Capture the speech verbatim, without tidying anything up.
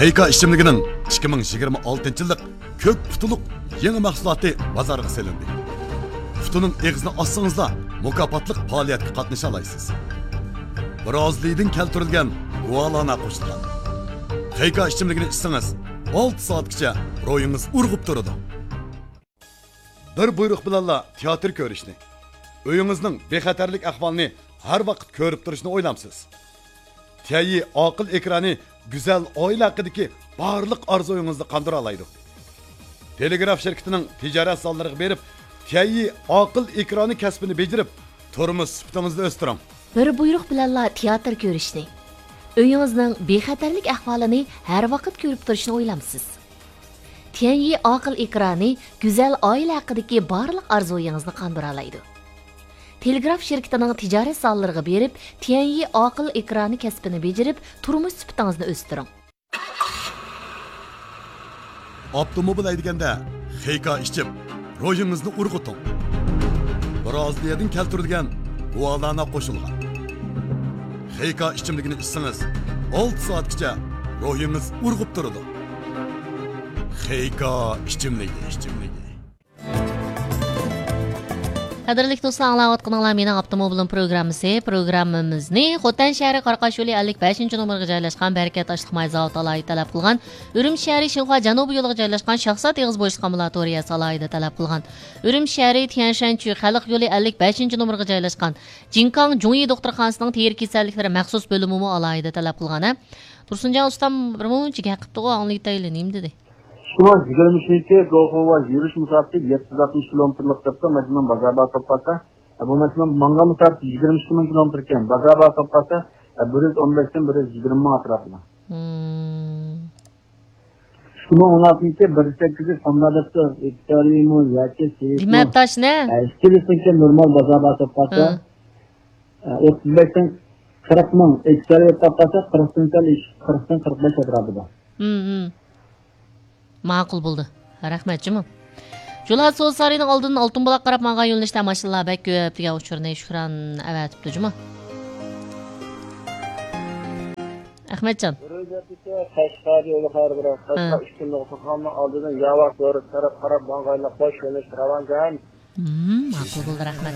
خېيكا ئىچىملىكىنىڭ ئىككى مىڭ يىگىرمە ئالتىنچى يىللىق كۆك پۇتىلۇق يېڭى مەھسۇلاتى بازارغا سېلىندى. پۇتىنىڭ ئېغىزىنى ئاچسىڭىزلا، مۇكاپاتلىق پائالىيەتكە قاتنىشالايسىز. برازىلىيىدىن كەلتۈرۈلگەن گۇالانا قوشۇلغان. خېيكا ئىچىملىكىنى ئىچسىڭىز، ئالتە سائەتكىچە روھىڭىز ئۇرغۇپ تۇرىدۇ. بىر بۇيرۇق بىلەنلا تىياتىر كۆرۈشنى، ئۆيىڭىزنىڭ بىخەتەرلىك ئەھۋالىنى ھەر ۋاقىت كۆرۈپ تۇرۇشنى ئويلامسىز؟ تيەنيى ئاقىل ئېكرانى گۈزەل ئائىلە ھەققىدىكى بارلىق ئارزۇيىڭىزنى قاندۇرالايدۇ. تېلېگراف شىركىتىنىڭ تىجارەت زاللىرىغا بېرىپ، تيەنيى ئاقىل ئېكرانى كەسپىنى بېجىرىپ، تۇرمۇش سۈپىتىڭىزنى ئۆستۈرۈڭ. بىر بۇيرۇق بىلەنلا تىياتىر كۆرۈشنى، ئۆيىڭىزنىڭ بىخەتەرلىك ئەھۋالىنى ھەر ۋاقىت كۆرۈپ تۇرۇشنى ئويلامسىز؟ تيەنيى ئاقىل ئېكرانى گۈزەل ئائىلە ھەققىدىكى بارلىق ئارزۇيىڭىزنى قاندۇرالايدۇ. تېلېگراف شىركىتىنىڭ تىجارەت زاللىرىغا بېرىپ، تيەنيى ئاقىل ئېكرانى كەسپىنى بېجىرىپ، تۇرمۇش سۈپىتىڭىزنى ئۆستۈرۈڭ. ئاپتوموبىل ھەيدىگەندە خېيكا ئىچىپ، روھىڭىزنى ئۇرغۇتۇڭ. برازىلىيەدىن كەلتۈرۈلگەن گۇالانا قوشۇلغان. خېيكا ئىچىملىكىنى ئىچسىڭىز، ئالتە سائەتكىچە روھىڭىز ئۇرغۇپ تۇرىدۇ. خېيكا ئىچىملىكى، ئىچىملىكى. قەدىرلىك دوستلار، ئاڭلاۋاتقىنىڭلار مېنىڭ ئاپتوموبىلىم پروگراممىسى. پروگراممىمىزنى خوتەن شەھىرى قاراقاش يولى ئەللىك بەشىنچى نومۇرغا جايلاشقان بەرىكەت ئاشلىق ماي زاۋۇتى ئالاھىدە تەلەپ قىلغان، ئۈرۈمچى شەھىرى شىنخۇا جەنۇبىي يولىغا جايلاشقان شاھزات ئېغىز بوشلۇق ئامبۇلاتورىيەسى ئالاھىدە تەلەپ قىلغان، ئۈرۈمچى شەھىرى تيەنشەنچۈ خەلق يولى ئەللىك بەشىنچى نومۇرغا جايلاشقان جىنكاڭ جۇڭيى دوختۇرخانىسىنىڭ تېرە كېسەللىكلىرى مەخسۇس بۆلۈمىمۇ ئالاھىدە تەلەپ قىلغان، ھە. تۇرسۇنجان ئۇستام بىر مۇنچە گەپ قىپتىغۇ، ئاڭلىۋېتەيلى، نېمە دېدى؟ ئىككى مىڭ يىگىرمە ئۈچىنچى گوخۇڭغا يۈرۈش مۇساپىسى يەتتە يۈز ئاتمىش كىلومېتىرلىق دەپتۇ، ماشىنىنىڭ بازار باھاسى بولۇپ قالسا، بۇ ماشىنىنىڭ ماڭغان مۇساپىسى يىگىرمە ئىككى مىڭ كىلومېتىركەن، بازار باھاسى بولۇپ قالسا، بىر يۈز ئون بەشتىن بىر يۈز يىگىرمە مىڭ ئەتراپىدا. مم. ئىككى مىڭ ئون ئالتىنچى بىر سەككىز يۈز سومدا دەپتۇ، ئېكسارىمۇ ياكى سېيىتمۇ. دېمەپ تاشنى. ئىككىلىسىنىڭكى نورمال بازار باھاسى بولۇپ قالسا، ھە. ئوتتۇز بەشتىن قىرىق مىڭ، ئېكسارى بولۇپ قالسا، قىرىقتىن سەل ئېشىپ، قىرىقتىن قىرىق بەش ئەتراپىدا. مم، مم. ماقۇل بولدى. رەھمەت جۇمۇ. جۇلھا سودا سارىيىنىڭ ئالدىدىن ئالتۇن بۇلاق قاراپ ماڭغان يۆنىلىشتە ماشىنىلار بەك كۆپ دېگەن ئۇچۇرنى شۇكران ئەۋەتىپتۇ جۇمۇ. ئەخمەتجان. قەشقەر يولى ھەر بىر قەشقەر ھە. ئۈچ كۈنلۈك دوختۇرخانىنىڭ ئالدىدىن ياۋا كۆۋرۈك تەرەپ قاراپ ماڭغانلار خوش يۆنىلىشتە راۋانكەن. مم، ماقۇل بولدى، رەھمەت.